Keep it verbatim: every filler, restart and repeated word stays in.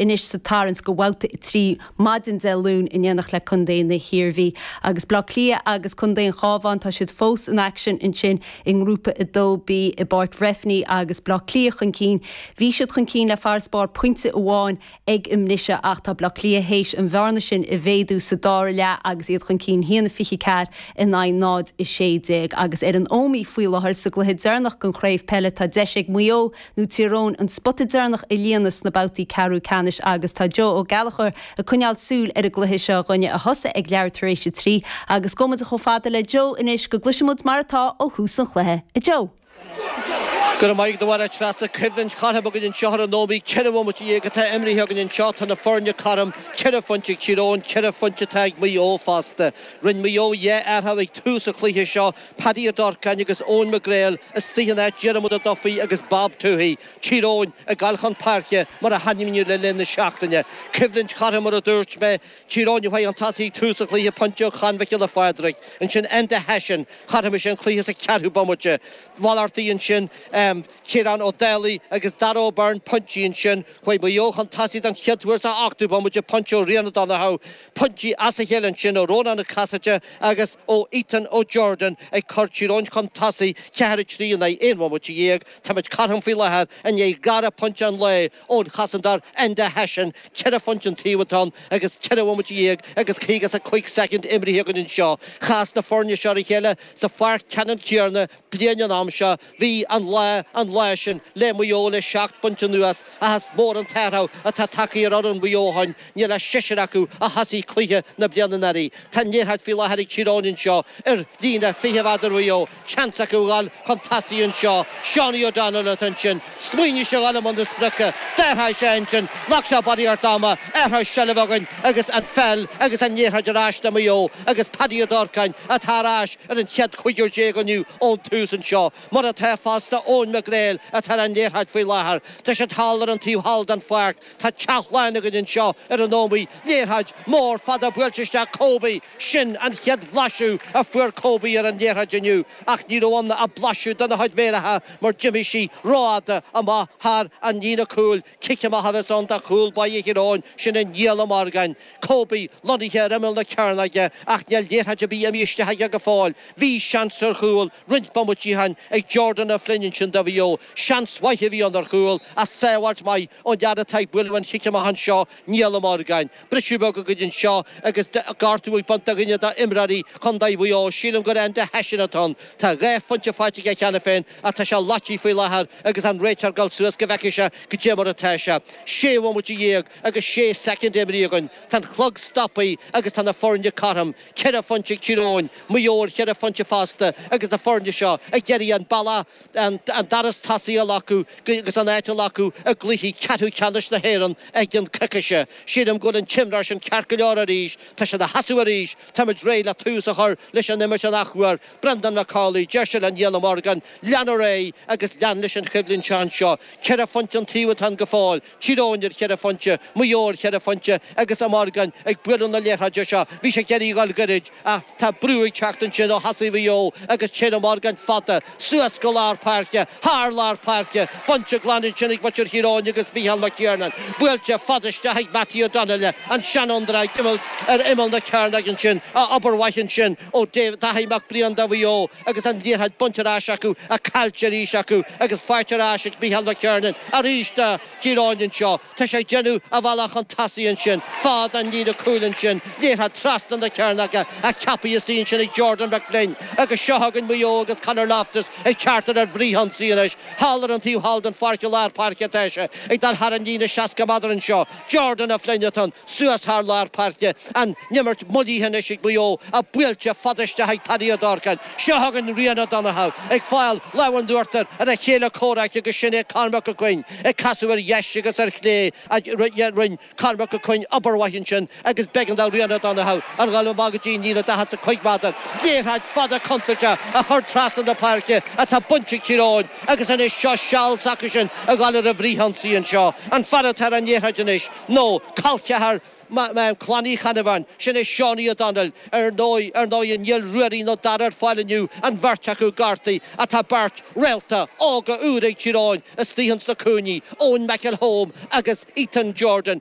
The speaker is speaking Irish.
anois sa tarraingt go babhta a trí maidin Dé Luain in éineacht le Contae na hIarmhí. Agus Bleá Cliath agus Contae an Chabháin tá siad fós in aicsean ansin i ngrúpa a dó B i bPáirc Bhreifne agus Bleá Cliath chun cinn. Bhí siad chun cinn le farasbarr pointe amháin ag an mbriseadh ach tá Bleá Cliath théis an bhearna sin a mhéadú sa dara leath agus iad chun cinn haon a fiche ceathair in aghaidh náid a sé déag agus ar an Ómaigh faoi láthair sa gcluiche deireanach den chraobh peile tá deis ag Maigh Eo nó Tír Eoghain an spota deireanach a líonadh sna babhtaí ceathrú ceannais agus tá Joe Ó Gallchóir ag coinneáil súil ar an gcluiche seo againne a thosaigh ag leathuair tar éis a trí agus gabhfaidh muid chomh fada le Joe anois go gcloisfimid mar atá ó thús an chluiche a Joe. Go maith do bhar treasta coimhlint chothrom againn anseo ar an Ómaigh ceithre bhomaite déag atá imrithe againn anseo tá na foirne cothrom ceithre phointe ag Tír Eoghain ceithre phointe atá ag Maigh Eo fosta. Rinne Maigh Eo dhá athrú ag tús an chluiche seo Paddy Ó Durcáin agus Eoin McGrail istigh in áit Diarmuid Ó Dufaigh agus Bob Tuohy. Tír Eoghain ag gabháil chun páirce mar a hainmníodh le linn na seachtaine. Coimhlint chothrom mar a dúirt mé Tír Eoghain a chun tosaigh tús an chluiche pointe ó Chon Mhic Giolla Phádraig. Ansin Enda Hession chothromaigh sé an cluiche sa ceathrú bomaite. Mhalartaigh ansin um, Ciarán Ó Dálaigh agus Dara O'Byrne pointí ansin chuaigh Maigh Eo chun tosaigh den chéad uair sa ochtú bomaite pointe ó Rian O'Donoghue pointí as a chéile ansin ó Rónán Ó Casaide agus ó Ethan O'Jordan ag cur Tír Eoghain chun tosaigh ceathair trí in aghaidh aon bhomaite dhéag Táimid cothrom faoi láthair i ndiaidh dhara pointe an lae ón chosantóir Enda Hession ceithre phointe an taobh atá agus ceithre bhomaite dhéag agus caoga is a cúig soicind imrithe againn anseo. Chas na foirne seo a chéile sa pháirc ceannann céanna bliain an am seo bhí an lá an lá sin le Maigh Eo le seacht bpointe anuas is mór an t-athrú atá tagtha ar fhoireann Mhaigh Eo ó shin níl ach seisear acu a thosaigh cluiche na bliana anuraidh. Tá liathróid faoi láthair ag Tír Eoghain anseo ar líne fiche mhéadar Mhaigh Eo, seans acu gabháil chun tosaigh anseo, Seánie O'Donnell atá ansin, smaoinigh sé gabháil i mbun na sprice, d'athraigh sé ansin, ghlac sé barraíocht ama, athrú seilbhe againn agus an pheil agus an liathróid ar ais le Maigh Eo agus Paddy Ó Durcáin atá ar ais ar an chéad chúigear déag inniu ón tús anseo. Mar atá fosta Eoin McGrail atá ar an liathróid faoi láthair. Tá siad thall ar an taobh thall den pháirc, Tá teach lán againn anseo ar an Ómaigh, liathróid mór fada buailte isteach Kobe, sin an chéad bhlaiseadh a fuair Kobe ar an liathróid inniu ach ní raibh ann ach blaiseadh dena chuid méaracha mar d'imigh sí rófhada amach thar an líne cúil, cic amach a bheas ann do chúl báire Thír Eoghain, sin é Niall Ó Morgáin. Kobe lonnaithe ar imeall na cearnóige ach níl liathróid ar bith imithe isteach aige go fóill. Bhí seans ar chúl roinnt bomaití ó shin ag Jordan O'Flynn ansin do Mhaigh Eo. Seans mhaith a bhí ann ar chúl ach sábháilt mhaith ón fhear atá ag bualadh an chic amach anseo Niall Ó Morgáin. Briseadh beag againn anseo agus gortú ag baint do dhuine d'imreoirí Chontae Mhaigh Eo, sílim gur Enda Hession atá ann. Tá dhá phointe faighte aige cheana féin ach tá sé loite faoi láthair agus an réiteoir ag dul suas go bhfeicfidh sé goidé mar atá sé. Sé bhomaite dhéag agus sé soicind imrithe againn. Tá an clog stoptha agus tá na foirne cothrom. Ceithre phointe ag Tír Eoghain, Maigh Eo ar cheithre phointe fosta agus na foirne seo ag iarraidh an bealach an doras tosaigh a ghlacadh agus an áit a ghlacadh i gcluichí ceathrú ceannais na hÉireann i gceann coicíse. Sílim go bhfuil an t-imreoir sin ceart go leor arís, tá sé ina sheasamh arís, táimid réidh le tús a chur leis an imirt an athuair. Brendan McCauley, deir sé le Niall Ó Morgan, lean ar aghaidh agus lean leis an choimhlint seo anseo. Ceithre phointe an taobh atá ann go fóill, Tír Eoghain ar cheithre phointe, Maigh Eo ar cheithre phointe agus Ó Morgan ag bualadh na liathróide seo. Bhí sé ag iarraidh a dhul gairid ach tá brú ag teacht ansin ó thosaithe Mhaigh Eo agus téann Ó Morgan fada suas go lár páirce, thar lár páirce, bainte glan ansin ag muintir Thír Eoghain agus Micheál McKiernan. Buailte fada isteach ag Mattie O'Donnell, an seanfhondúir ag imirt ar imeall na cearnóige ansin, obair mhaith ansin ó Daithí Mac Briain do Mhaigh Eo agus an liathróid bainte ar ais acu, ach caillte arís acu agus faighte ar ais ag Micheál McKiernan arís do Thír Eoghain anseo. Tá sé ag déanamh a bhealach chun tosaigh ansin, fad an líne cúil ansin, liathróid trasna na cearnóige ach ceaptha istigh ansin ag Jordan McFlynn agus seo againn Maigh Eo agus Conor Loftus ag teacht ar fhrithionsaí anois. Thall ar an taobh thall den pháirc i lár páirce atá sé ag dul thar an líne seasca méadar anseo. Jordan O'Flynn atá ann suas thar lár páirce. An imirt moillithe anois ag Maigh Eo ach buailte fada isteach ag Paddy Ó Durcáin. Seo againn Rian O'Donoghue ag fáil lámh in uachtar ar a chéile comhraic agus sin é Cormac Ó Coinn ag casadh ar dheis agus ar chlé rinne Cormac Ó Coinn obair mhaith ansin agus b'éigean do Rian O'Donoghue a dhul amach go dtí an líne daichead is a cúig méadar. Liathróid fada contúirteach a chur trasna na páirce atá bainte ag Tír Eoghain agus anois seo seal s'acu sin a ghabháil ar an bhfrithionsaí anseo. An fear atá ar an liathróid anois nó col ceathar Clann Uí Cheannabháin, sin é Seánie O'Donnell. Ar ndóigh, ar ndóigh níl Ruairí nó Dara ar fáil inniu, an bheirt acu gortaithe ach tá beirt réalta óga úr ag Tír Eoghain istigh ins na cúinní, Eoin McElholm agus Ethan Jordan.